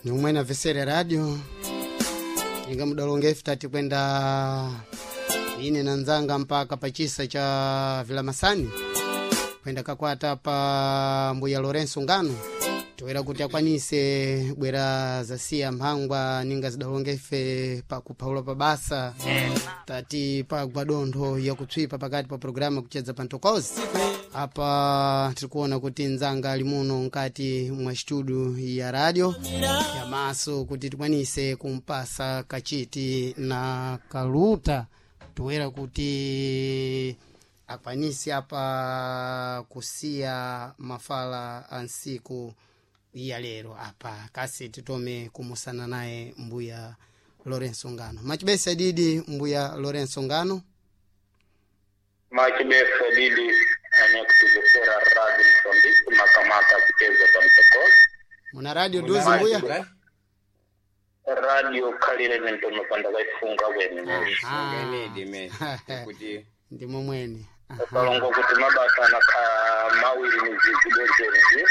Ni umwe na vesere radio inga mudalonga ife tati kwenda ine na nzanga mpaka pachisa cha Vilamasani kwenda kakwata pa mbuya Lorenzo Ngano toera kuti akwanise bwera zasiya mphangwa ninga zidalonga ife pakuphaula pabasa tati pagwa dontho yakutswipa pakati pa programu kuchedza pa ntokozi. Apa tirikuona kuti nzanga ali muno mkati mwa studio ya radio yamaso kuti tikwanise kumpasa kachiti na kaluta toera kuti akwanise apa kusiya mafala a nsiku ya lero. Apa kasi titome kumusana naye mbuya Lorenzo Ngano. Machibesa didi mbuya Lorenzo Ngano. Machibesa didi anyakutuzokera radio Msambiki makamaka kucheza pa mtokozi. Muna radio duzi mbuya Radio khalire nentono panda kaifunga kwene. Ngenidi kuti ndimo mwene. Kalongo kuti mabasa anakha mawiri mizizi bwezenizi.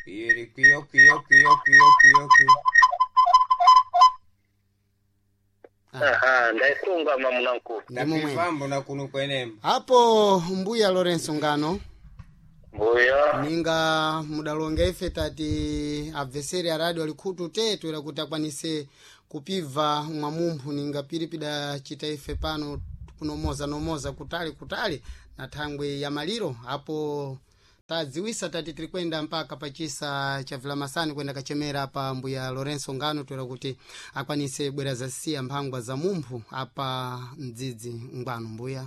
Iri kwiyo kwiyo kwiyo kwiyo kwiyo kwiyo. Aha, ndaifunga mamunanku. Ndimo mwene. Ndapifambo na kuno kwenemba. Apo mbuya Lorenzo Ngano Mbuya ninga mudalonga ife tati abveseri a radio alikhutu te toera kuti akwanise kupibva mwamumphu ninga piri pidacita ife pano kunomoza nomoza kutali kutali na thangwe ya maliro. Apo tadziwisa tati tiri kwenda mpaka pachisa cha Vilamasani kwenda kachemera pa mbuya Lorenzo Ngano toera kuti akwanise bwera zasiya mphangwa za mumphu apa mdzidzi ngwano mbuya.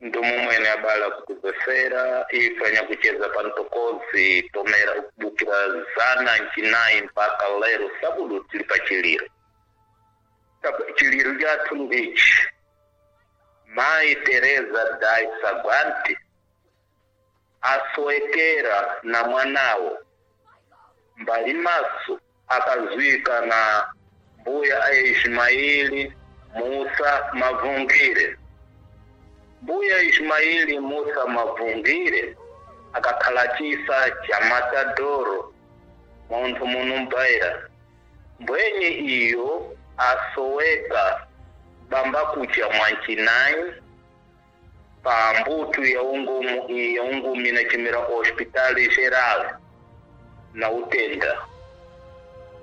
Ndumu mwene abala kutuzesera ifanya kucheza pa ntokozi tomera kubukira zana nchinayi mpaka lero sabudu tili pa chiliro. Chiliro chathu ndichi Mai Teresa Dai Sagwanti asowekera na mwanawo mbali maso akazwika na mbuya a Ismaili Musa Mavungire. Mbuya Ismaili Musa Mavungire akakhala chisa cha Matadoro munthu munumbaira. Mbwenye iyo asoweka bamba kucha mwanchinayi pa mbutu ya ungumu ya ungumi na chimira hospitali geral na utenda.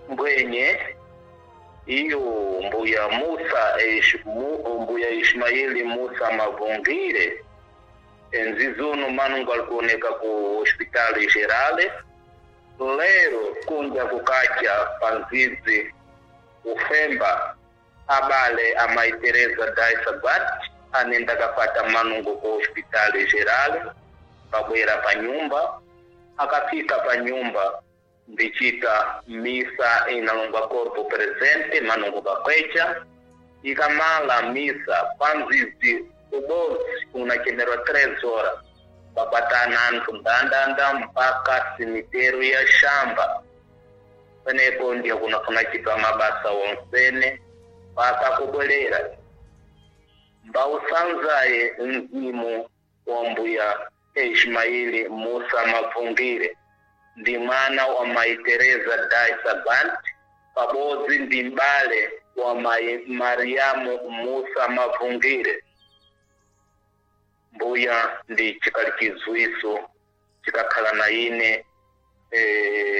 Mbwenye iyo mbuya Musa mbuya Ismaili Musa Mavungire enzizuno manungu alikuoneka ku hospitali geral lero kunja kukacha panzizi ufemba abale amai Teresa Daisabat anenda kapata manungo ku hospitali geral pabwera pa nyumba. Akafika pa nyumba ndichita misa inalongwa corpo presente manungo kakwecha ikamala misa panzizi ubozi unachemerwa 3 horas pakwatana anthu ndandanda mpaka simiteru ya shamba penepo ndiyo kunafuna chitwa mabasa wonsene mpaka kubwerera mbausanzaye mzimu wa mbuya Ismaili Musa Mavungire ndi mwana wa mai Teresa Dai Sabant pabodzi ndi mbale wa mai Mariamu Musa Mavungire. Mbuya ndi chikali chizwiso chikakhala na ine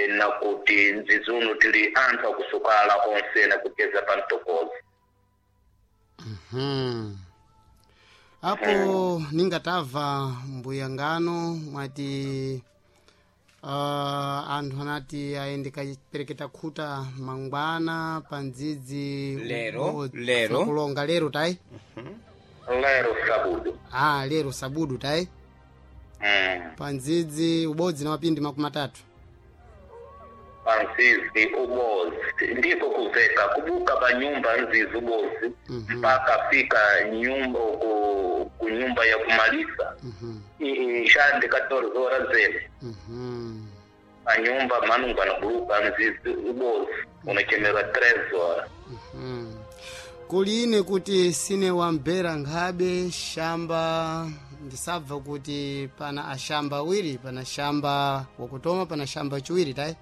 na kuti nzizuno tili anthu akusukala onse na kucheza pa mtokozi. Apo ningatava mbuya Ngano mwati anthu anati aende kapereketa khuta mangwana pa ndzidzi Lero, lero. kulonga lero tayi. Lero sabudu. Ah, lero sabudu tayi. Pa ndzidzi ubodzi na mapindi 30. Panzizi ubozi ndiko kuveka kubuka pa nyumba nzizi ubozi mpaka fika nyumba ku nyumba ya kumalisa. Ishande 14 horas zene. Pa nyumba manungu anabuluka nzizi ubozi unachemerwa 3 horas. Kuline kuti sine wambera nkhabe shamba ndisabva kuti pana ashamba awiri, pana shamba wakutoma pana shamba chiwiri tayi.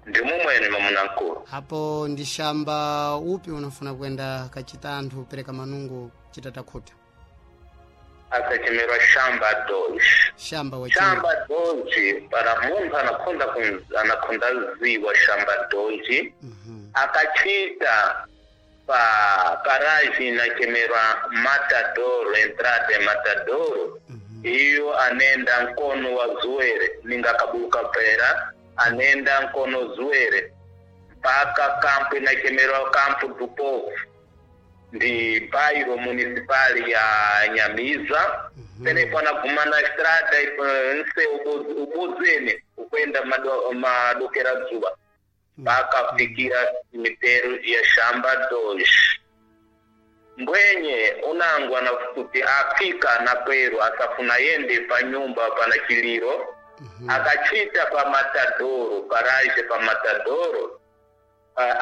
Ndi mumwene mamunankulu. Apo ndi shamba upi unafuna kwenda kachita anthu pereka manungo chitatakhuta? Akachemerwa shamba doji. Shamba wachimwe. Shamba doji para munthu anakhonda anakhonda ziwa shamba doji. Akachita pa paraji inachemerwa Matadoro, entrada Matadoro. Iyo anenda nkono wa zuwere ninga kabuka pera anenda nkono zuwere mpaka kampu inachemerwa kampu do povo ndi bairo municipal ya Nyamiza. Penepo anaguma na estrada nse ubozene ukwenda madokera zuva mpaka fikira cemitério ya shamba 2. Mbwenye unangwa na kuti afika na kweru asafuna yende pa nyumba pana chiliro. Akachita pa Matadoro, paraje pa Matadoro,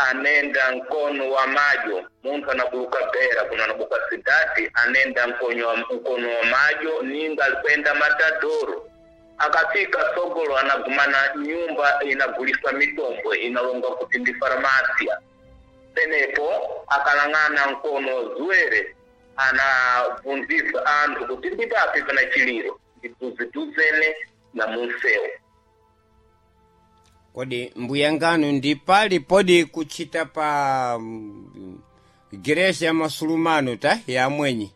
anenda nkono wa majo munthu anabuka bera kuno anabuka sidati anenda nkono wa majo ninga alikwenda Matadoro. Akafika sogolo anagumana nyumba inagulisa mitombo inalonga kuti ndi farmasia. Penepo akalang'ana nkono zuwere anabvunzisa anthu kuti ndipapi pana chiliro ndiduziduzene na munsewu. Kodi mbuya nganu ndi pali podi kuchita pa gereja ya masulumano ta ya mwenyi?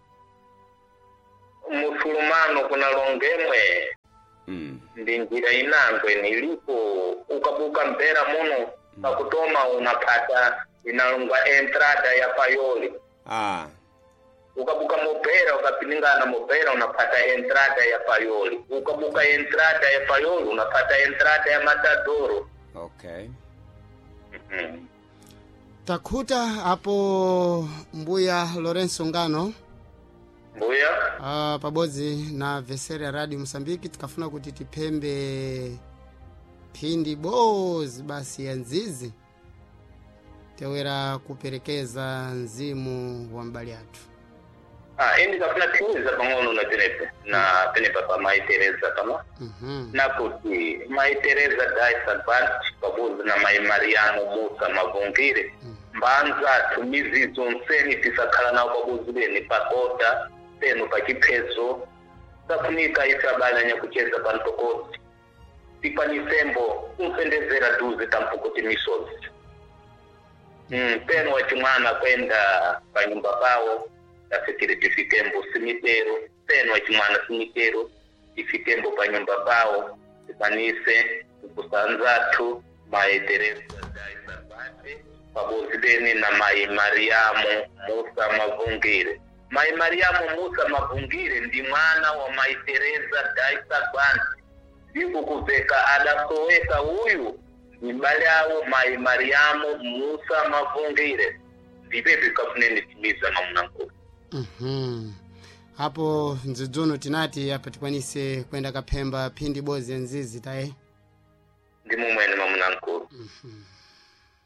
Musulumano kuna longemwe. Ndi njira inangwe nilipo ukabuka mpera muno pakutoma unapata inalongwa entrada ya payoli. Ukabuka mopera ukapilingana mopera unapata entrada ya payoli. Ukabuka entrada ya payoli unapata entrada ya Matadoro. Okay. Takhuta apo mbuya Lorenzo Ngano. Mbuya. Pabodzi na veseri ya Radio Mosambiki tikafuna kuti tiphembe phindi bozi basi ya nzizi tewera kuperekeza mzimu wa mbali athu. Indi kafuna timiza pang'ono na penepe na penepa pa Mai Teresa kama. Na kuti Mai Teresa Daisa Bart pabodzi na Mai Mariano Musa Mavungire. Mbanza tumizi zonseni tisakhala nawo pabodzi beni pakota peno pachiphezo safunika ife abale anyakucheza pantokoti tikwanisembo kumfendezera duze tampukuti misozi. Peno wachimwana kwenda panyumba pawo tafikire tifikembo simitero peno wachimwana simitero tifikembo panyumba pawo tikwanise kukusanzathu Mai Teresa Daisa Bate pabodzi beni na Mai Mariamu Musa Mavungire. Mai Mariamu Musa Mavungire ndi mwana wa Mai Teresa Daisa Bate. Ndiko kuveka adasoweka uyu ni mbale awo Mai Mariamu Musa Mavungire. Ndipepe kafuneni timiza mamunankulu. Apo nzidzuno tinati apa tikwanise kwenda kaphemba phindi bozi ya nzizi taye. Ndi mumwene mamunankulu.